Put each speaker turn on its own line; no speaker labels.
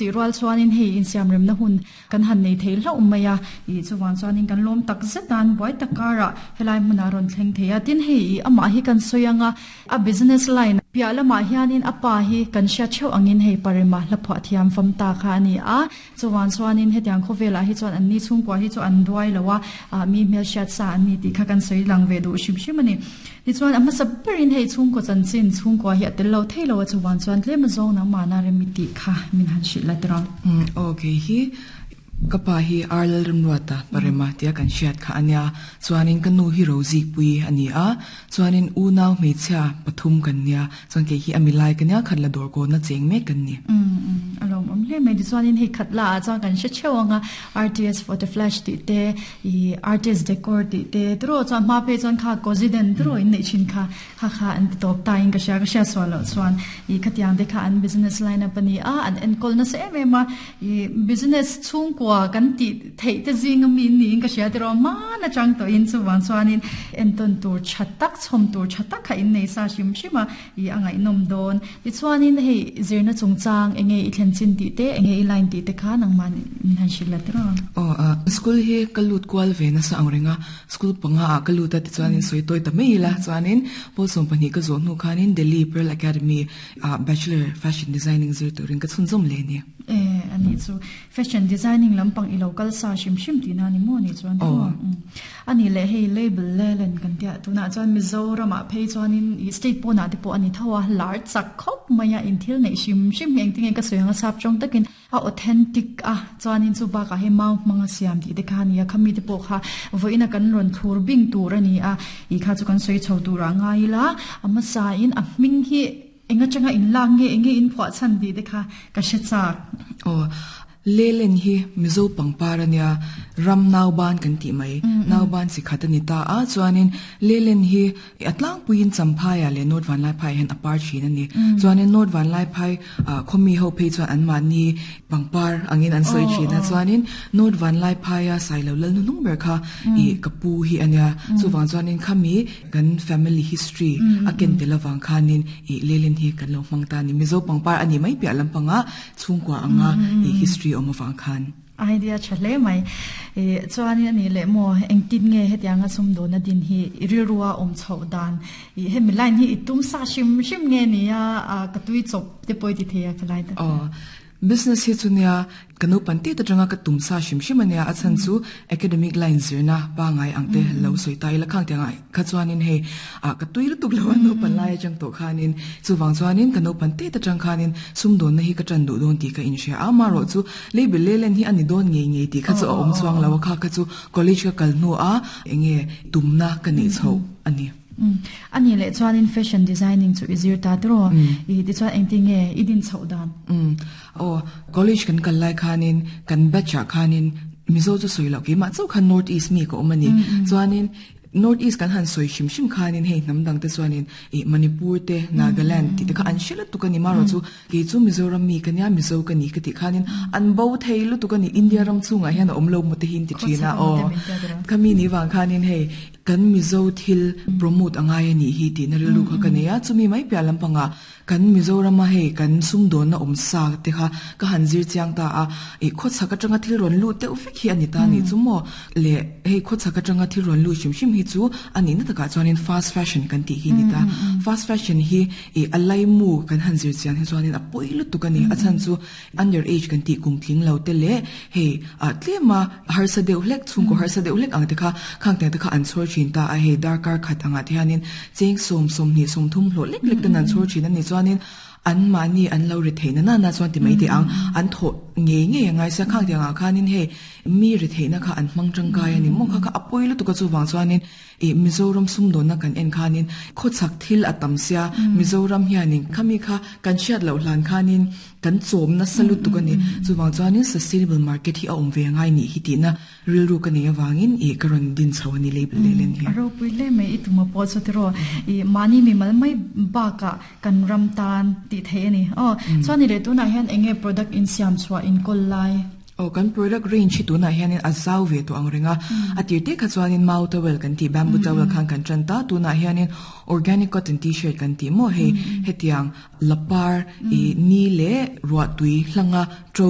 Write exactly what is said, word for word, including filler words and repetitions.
Chuti rual chuanin hei insiam remna hun kan han nei thei hlauh mai a, ih chuwang chuanin kan lawm tak zetan buai tak karah helai hmunah rawn thleng thei a. Tin, hei ih amah hi kan sawi anga a business line piah lamah hianin a pa hi kan hriat theuh angin hei parema hla phuah thiam fam ta kha ani a. Chuwang chuanin hetiang khawvelah hi chuan an ni chhungkua hi chu an duai lo a, ah mi hmel hriat sa an ni tih kha kan sawi lang ve duh hrim hrim ani. Tichuan a hmasa berin hei chhungkaw chanchin chhungkua hi a tel lo thei lo a, chuwang chuan tlem azawng nangmahna remi tih kha min han hrilh la tiraw.
Um okay, hi ka pa hi Arlal Rimruata parema tia kan hriat kha ania. Chuanin ka nu hi Rozi pui ani a. Chuanin u nau hmeichhia pathum kan nia. Chuan ke hi ami lai ka nia, khat la dawr ko na cheng mek kan ni.
um um alom om hle mai. Chuanin hei khat la chuan kan hre theuh anga R T S Photo Flash ti te, i R T S Decor ti te tro, chuan hma phei chuan kha Cosiden tro in nei thin kha kha kha an ti top ta in ka hria, ka hria sual lo chuan i khatiang te kha an business line up ani a, an enkol na se em em a. I business chhungkua kan ti thei te zinga mi ni in ka hria te ro ma na chang to in. Chuwang chuanin enton tur thatak chhom tur thatak kha in nei sa hrim hrima i angai nom don. Ti chuanin hei zirna chungchang enge i thlen chin ti te, enge i line ti te kha nangman min han hrilh la tiro.
O a school hi kalut kwal ve na sa angrenga, school panga a kalut a. Ti chuanin soi toy ta mei la. Chuanin pol som pahnih ka zo nu khanin Delhi Pearl Academy a bachelor fashion designing zir turin ka chhunzawm le ni.
E ani chu fashion designing lampang ilo kal sa hrim hrim ti na ni mo ni chuan?
Oh.
Ani le hei label le len kan tia, tuna chuan Mizoram a phei chuanin i state pawna te pawh ani thawa lar chak khop maya in thil nei hrim hrim eng tinge ka soyanga sap chong takin a authentic a. Chuanin chu ba ka he mau manga siam ti te kha ni a, khami te pawh kha voina kan ron thur bing tur ani a. I kha chu kan soi chho tur a ngai la. Ama sa in a hming hi enga changa in lang nge, enge in phwa chan di te kha ka hre chak.
O lelen hi Mizo pangpar ania, ram nauban kan ti mai, nauban si khat ani ta a. Chuanin lelen hi atlang puin Champhai le North Vanlaiphai hen apar thin ani. Chuanin North Vanlaiphai khomi ho phei chuan an ma ni pangpar angin an soi thin a. Chuanin North Vanlaiphai a sailo lal nung ber kha i kapu hi ania. Chuwang chuanin khami kan family history a ken telawang khanin i lelen hi kan lo hmang ta ni. Mizo pangpar ani mai pi lampanga chhungkwa anga i history om awang khan.
Idea tha hle mai e. Chuanin ani le mo engtin nge hetianga sum do na din hi rilruwa om chho dan, i hemi line hi itum sa shim shim nge ni a, ka tui chop te poi ti theya khalai ta?
O business hi chunia kanu panti ta tanga ka tumsa shim shim ania. A chan chu academic line zirna pa ngai angte lo soi tai la khang tenga kha chuanin hei a ka tui lu tuk lo no pan lai chang to khanin. Chuwang chuanin kanu panti ta tang khanin sum don na hi ka tran du don ti ka in sha a. Ma ro chu label lelen hi ani don nge nge ti kha chu om chuang lo kha kha chu college ka kal nu a enge tumna ka nei chho ani.
Ani le chuanin fashion designing chu izir ta tro, i ti chuan engti nge idin chho dan?
Um o college kan kal lai khanin kan batch khanin Mizo chu soi lo ki ma chau khan North East mi ko omani. Chuanin North East kan han soi shim shim khanin hei nam dang te chuanin e Manipur te, Nagaland ti te kha an shila tu kani. Maro chu ke chu Mizoram mi kania, Mizo kani ka ti khanin an bo thei lu tu kani. India ram chunga hian om lo mu te hin ti thina. O khami ni wang khanin hei kan Mizo thil promote angai ani hi ti na rilu kha kania. Chumi mai pya lampanga kan Mizoram a hei kan sum don na om sa te kha ka han zir chiang ta a. E kho chaka tanga thil ron lu te ufek hi ani ta ni chu mo le. Hei kho chaka tanga thil ron lu shim shim hi chu ani na taka chuanin fast fashion kan ti hi ni ta. Fast fashion hi e alai mu kan han zir chiang hi chuanin a poi lu tu kani. A chan chu under age kan ti kum tling lo te le hei a tlema har sa deuh hlek chung ko har sa deuh hlek ang te kha khang te kha an chor thin ta a. Hei darkar khat anga te hianin cheng som som ni som thum hlo lek lek ten an chor thin ani. Chuanin an mani an lo ri theina na na chuan ti mai te ang an tho nge nge ngai sa khang te anga khanin he mi ri theina kha an mang tangkai ani mo kha kha apoi lu tu ka. Chu wang chuanin e Mizoram sum don na kan en khanin kho chak thil atam sia Mizoram hianin khami kha kan chiat lo hlan khanin kan chom na salu tu kani. Chu wang chuanin sustainable market hi a om ve ngai ni hi ti na rilru ka nei awangin e karon din chawani label lelen hi.
Aro pui le mai ituma po chu tiro i mani mi mal mai ba ka kan ram tan ti the ani o. Chuani le tuna hian enge product in siam chua in kol lai?
O kan product range hi tuna hianin a zau ve to ang ringa. A tir te kha chuanin mau towel kan ti, bamboo towel khan kan tran ta. Tuna hianin organic cotton T-shirt kan ti mo. Hei hetiang lapar i ni le ruwa tui hlanga tro.